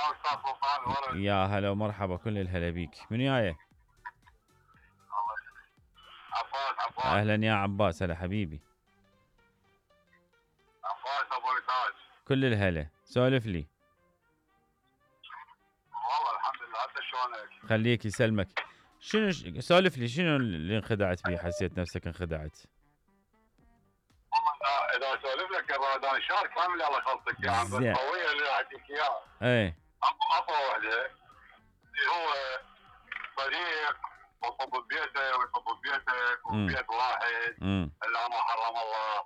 استاذ سلطان ورد. يا هلا ومرحبا، كل الهلا بيك. من جاي؟ عباس. اهلا يا عباس، هلا حبيبي. عباس ابو نتاج. كل الهلا، سولف لي. والله الحمد لله، انت شلونك؟ خليك يسلمك. شنو سولف لي، شنو اللي انخدعت فيه؟ حسيت نفسك انخدعت؟ اذا اسولف لك انا شهر كامل الله يخلصك يا عم، بس زين. قويه اللي اعطيك اياها. ايه. اقوى وحده اللي هو صديق وصب ببيته ويصب ببيتك وبيت واحد الا ما حرم الله.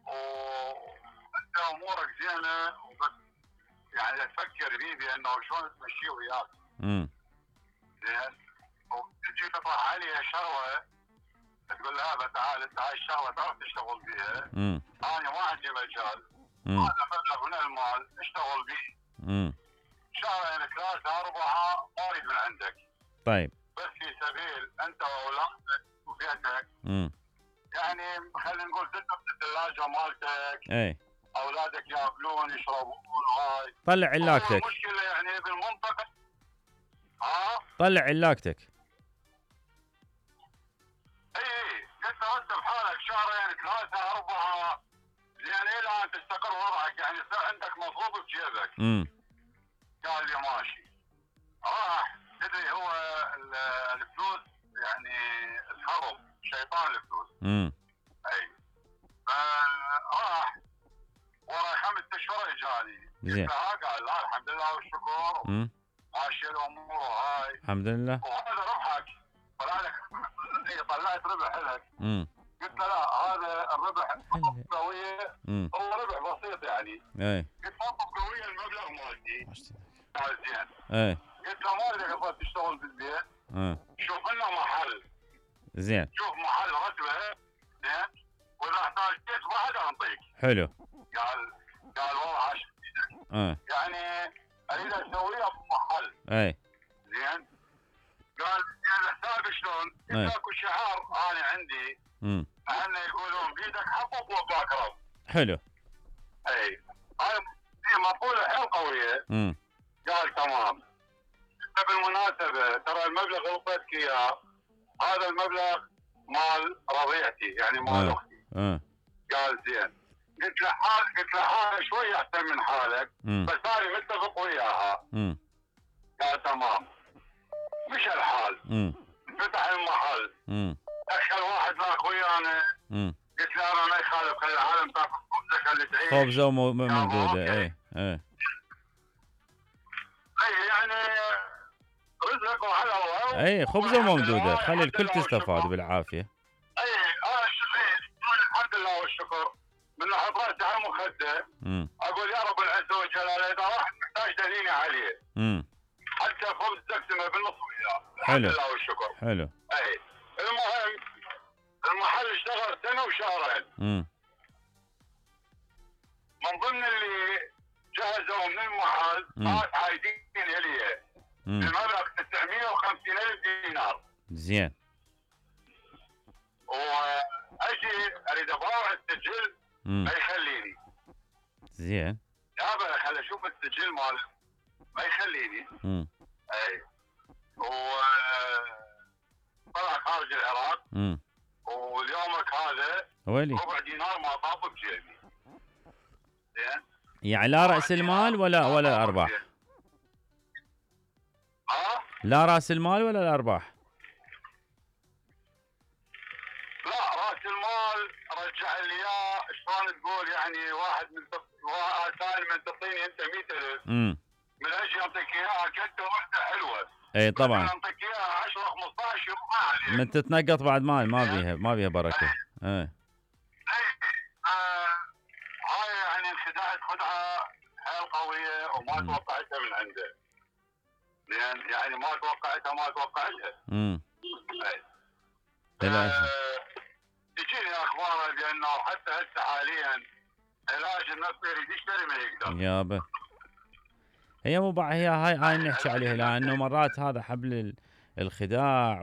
وانت امورك زينه وبس، يعني تفكر فيه بانه شلون تمشيه وياك. زين. وتجي تطرح عليها شغله تقول لها تعال انت هاي الشغله تعرف تشتغل بيها. انا ما عندي مجال، هذا مبلغ من المال اشتغل به. شهرين ثلاثه اربعه ما اريد من عندك. طيب. بس في سبيل انت واولادك وبيتك. يعني خلينا نقول تترك الثلاجه مالتك. اي. اولادك ياكلون يشربون هاي. طلع علاقتك. المشكله يعني بالمنطقه. طلع علاقتك. اي قلت له انت بحالك شهرين ثلاثه اربعه يعني الى ان تستقر وضعك، يعني يصير عندك مصروف بجيبك. قال لي ماشي. راح تدري هو الفلوس يعني الهرب شيطان الفلوس. اي. فراح ورا 5 اشهر اجاني. زين. قال لا الحمد لله والشكر. ماشي الامور هاي. الحمد لله. وهذا ربحك. طلعت ربح لك. قلت له لا هذا الربح قويه، هو ربح بسيط يعني. اي. قلت له قويه المبلغ مالتي. قال زين. اي. قلت له ما اريدك اظل تشتغل بالبيت. شوف لنا محل. زين. شوف محل رتبه. زين. واذا احتاجت بعد انطيك. حلو. قال والله عاش. يعني اريد اسويها بمحل. اي. زين. قال الحساب شلون؟ قلت اكو شعار انا عندي. اهلنا يقولون بيدك حطب وباك رب. حلو. اي. هاي مقوله حيل قويه. قال تمام. بالمناسبه ترى المبلغ اللي اعطيتك اياه هذا المبلغ مال رضيعتي يعني مال اختي. قال زين. قلت له حالك شوي احسن من حالك. بس انا متفق وياها. قال تمام. مش الحال. فتح المحل. دخل واحد معك ويانا. قلت له انا ما يخالف، خلي العالم تاكل خبزك اللي تعيش. خبزه موجوده. اي. يعني رزقك وعلى الله. اي خبزه موجوده، خلي الكل تستفاد بالعافيه. اي انا الحمد لله والشكر من احط راسي على المخده. اقول يا رب العزه والجلاله اذا واحد محتاج دليني عليه. حتى خبز تقسمه بالنص وياه. الحمد لله والشكر. حلو. اي. المهم المحل اشتغل سنه وشهرين. من ضمن اللي جهزوا من المحل ناس عايدين الي المبلغ 950,000 دينار. زين. واجي اريد اباوع السجل ما يخليني. زين. يابا خل اشوف السجل ماله ما يخليني. اي. طلع خارج العراق. واليومك هذا ربع دينار ما طاب بجيبي. زين. يعني لا راس المال ولا ارباح؟ لا راس المال ولا الارباح؟ لا راس المال رجع لي اياه. شلون تقول يعني واحد ثاني من تعطيني انت 100,000 من اجي اعطيك اياها كنت وحده حلوه. اي طبعا. اعطيك اياها 10 15 يروح عليك. من تتنقط بعد مال ما بيها بركه. هاي يعني انخدعت خدعه حيل قويه وما توقعتها من عنده. يعني ما توقعتها. تجيني اخبار بانه حتى هسه حاليا علاج النفسي يريد يشتري ما يقدر. يابا هي مو هي هاي نحكي عليها، لانه مرات هذا حبل الخداع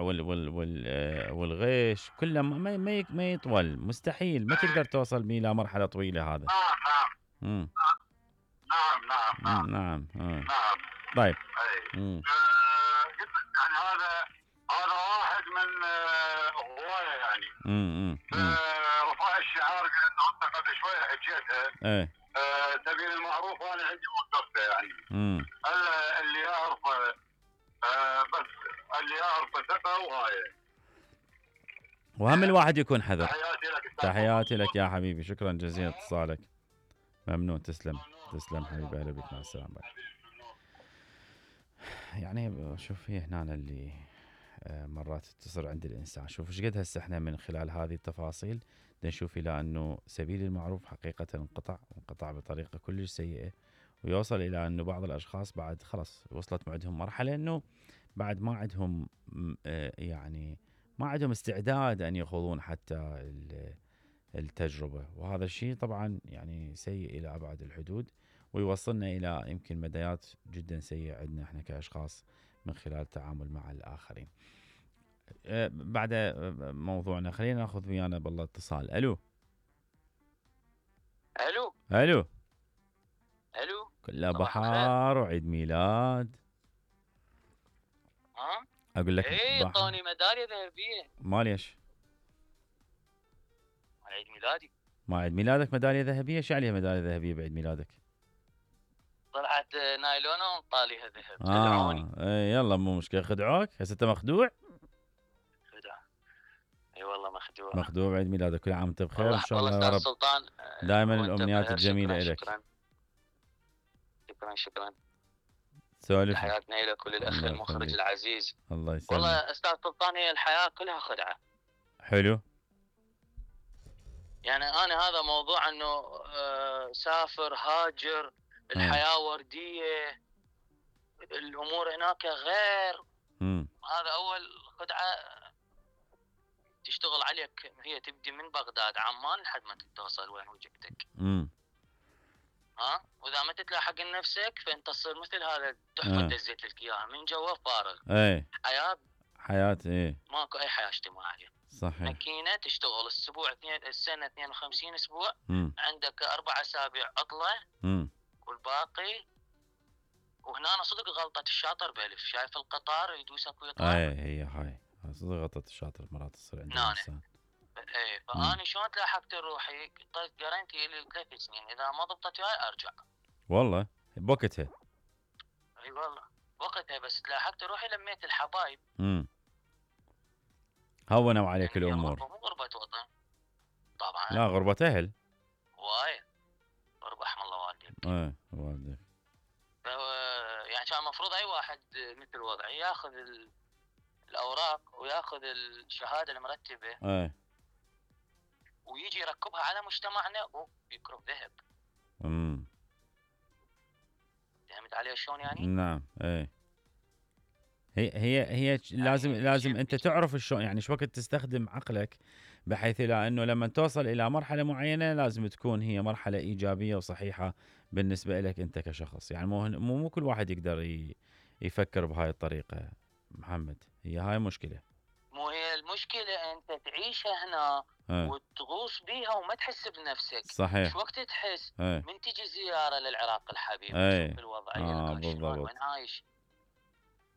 والغش كله ما يطول، مستحيل ما تقدر توصل بيه الى مرحله طويله هذا. نعم. طيب. قلت يعني هذا واحد من هوايه يعني. رفع الشعار لانه انت قبل شويه حكيتها. سبيل المعروف وانا عندي وقفته يعني. اللي يعرفه بس اللي يعرفه ثقه وهاي. وهم الواحد يكون حذر. تحياتي لك يا حبيبي، شكرا جزيلا اتصالك. ممنون، تسلم حبيبي، اهلا بك، مع السلامه. يعني شوف هي هنا اللي مرات تصير عند الانسان. شوف ايش قد هسه احنا من خلال هذه التفاصيل نشوف الى انه سبيل المعروف حقيقه انقطع بطريقه كلش سيئه، ويوصل الى انه بعض الاشخاص بعد خلص وصلت معدهم مرحله انه بعد ما عندهم يعني ما عندهم استعداد ان يخوضون حتى التجربه، وهذا الشيء طبعا يعني سيء الى ابعد الحدود، ويوصلنا الى يمكن مدايات جدا سيئه عندنا احنا كاشخاص من خلال التعامل مع الاخرين. بعد موضوعنا خلينا ناخذ ويانا بالله اتصال. الو كلها بحار وعيد ميلاد. اقول لك اعطوني ميداليه ذهبيه. ما ليش؟ عيد ميلادي. ما عيد ميلادك ميداليه ذهبيه؟ شو عليها ميداليه ذهبيه بعيد ميلادك؟ طلعت نايلونه وطاليها ذهب. يلا مو مشكله. خدعوك؟ هسه انت مخدوع؟ اي والله مخدوع بعيد ميلادك. كل عام وانت بخير ان شاء الله يا رب. سلطان دائما الامنيات الجميله لك. شكرا. سولف. حياتنا لك وللاخ المخرج العزيز. الله يسلمك. والله استاذ سلطان هي الحياه كلها خدعه. حلو. يعني انا هذا موضوع انه سافر هاجر الحياه ورديه الامور هناك غير. هذا اول خدعه تشتغل عليك. هي تبدي من بغداد عمان لحد ما توصل وين وجهتك. واذا ما تتلاحق لنفسك فانت تصير مثل هذا تحفه دزيت لك اياها من جوا فارغ. حياه ماكو اي حياه اجتماعيه. صحيح. ماكينه تشتغل السنه 52 اسبوع. عندك 4 أسابيع عطله. والباقي وهنا أنا صدق غلطه الشاطر بألف. شايف القطار يدوسك ويطلع. هي هاي صدق غلطه الشاطر مرات تصير عند الانسان. فأنا شلون تلاحقت روحي؟ طيب جارنتي لي 3 سنين اذا ما ضبطت وياي ارجع. والله بوقتها. اي والله بوقتها بس تلاحقت روحي لميت الحبايب. هونوا عليك يعني الامور. مو غربة وطن طبعا. لا غربة اهل. وايد. رحم الله والديك. والديك. يعني كان المفروض اي واحد مثل وضعي ياخذ الاوراق وياخذ الشهاده المرتبه. ويجي يركبها على مجتمعنا ويكرب ذهب. فهمت علي شلون يعني؟ نعم. هي لازم انت تعرف شلون يعني شو وقت تستخدم عقلك، بحيث الى انه لما توصل الى مرحله معينه لازم تكون هي مرحله ايجابيه وصحيحه بالنسبه لك انت كشخص. يعني مو كل واحد يقدر يفكر بهاي الطريقه محمد. هي هاي مشكله. مو هي المشكله انت تعيشها هنا وتغوص بيها وما تحس بنفسك. صحيح. شو وقت تحس من تجي زياره للعراق الحبيب تشوف الوضعيه شلون وين عايش.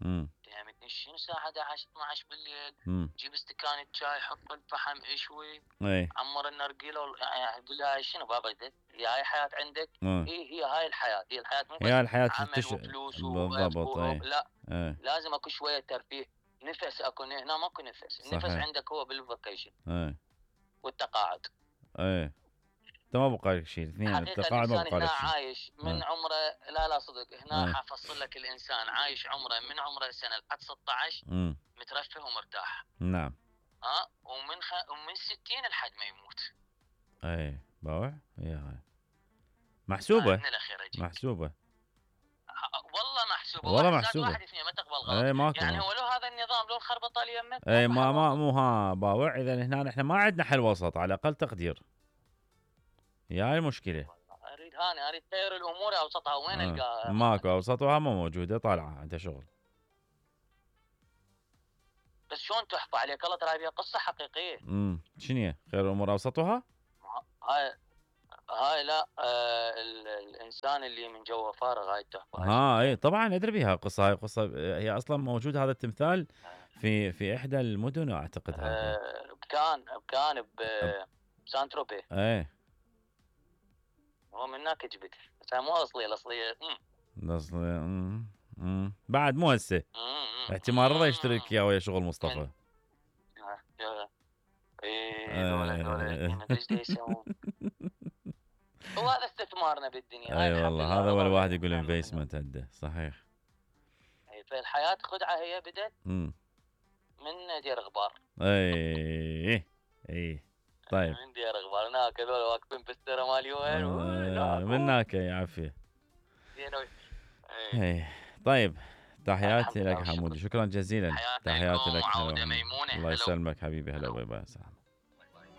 فهمتني؟ شنو الساعه 11 12 بالليل جيب استكان شاي حط الفحم اشوي عمر النرجيله يعني قول لها شنو بابا هي هاي حياه عندك. هي هاي الحياه. هي الحياه مو عمل وفلوس بالضبط. لا لازم اكو شويه ترفيه. نفس اكو هنا ماكو نفس. النفس عندك هو بالفاكيشن والتقاعد. انت ما بقى لك شيء. اثنين التقاعد ما بقى لك شيء. عايش من عمره لا صدق هنا حفصل لك الانسان عايش عمره من عمره سنه لحد 16 مترفه ومرتاح. نعم. ومن 60 لحد ما يموت. باوع. هي هاي محسوبه. محسوبه والله محسوبه. واحد اثنين ما تقبل غلط. يعني هو لو هذا النظام لو الخربطه اليمك. ما مو باوع. اذا هنا احنا ما عندنا حل وسط على اقل تقدير. هي هاي المشكله. اريد تغير الامور اوسطها. وين القاها؟ ماكو اوسطها ما موجوده. طالعه انت شغل. بس شلون تحفى عليك الله؟ ترى هي قصه حقيقيه. شنو هي؟ خير الامور اوسطها؟ هاي هاي لا الانسان اللي من جوه فارغ هاي التحفه. اي طبعا ادري بها قصه. هاي قصه هي اصلا موجود هذا التمثال في احدى المدن اعتقد هذه. بكان بسانتروبي. ايه هو من هناك جبت بس مو اصليه. الاصليه بعد مو هسه احتمال رضا يشترك اياه ويا شغل مصطفى. دولة ايش يسوون. هو هذا استثمارنا بالدنيا. اي والله هذا هو الواحد يقول انفستمنت عنده صحيح. فالحياه خدعه هي بدت من دير غبار. اي طيب من دير غبار هناك هذول واقفين بالسيره مالي وين من هناك يا عافيه. طيب تحياتي لك حمودي، شكرا جزيلا. تحياتي لك. ميمونه. الله يسلمك حبيبي. هلا باي باي.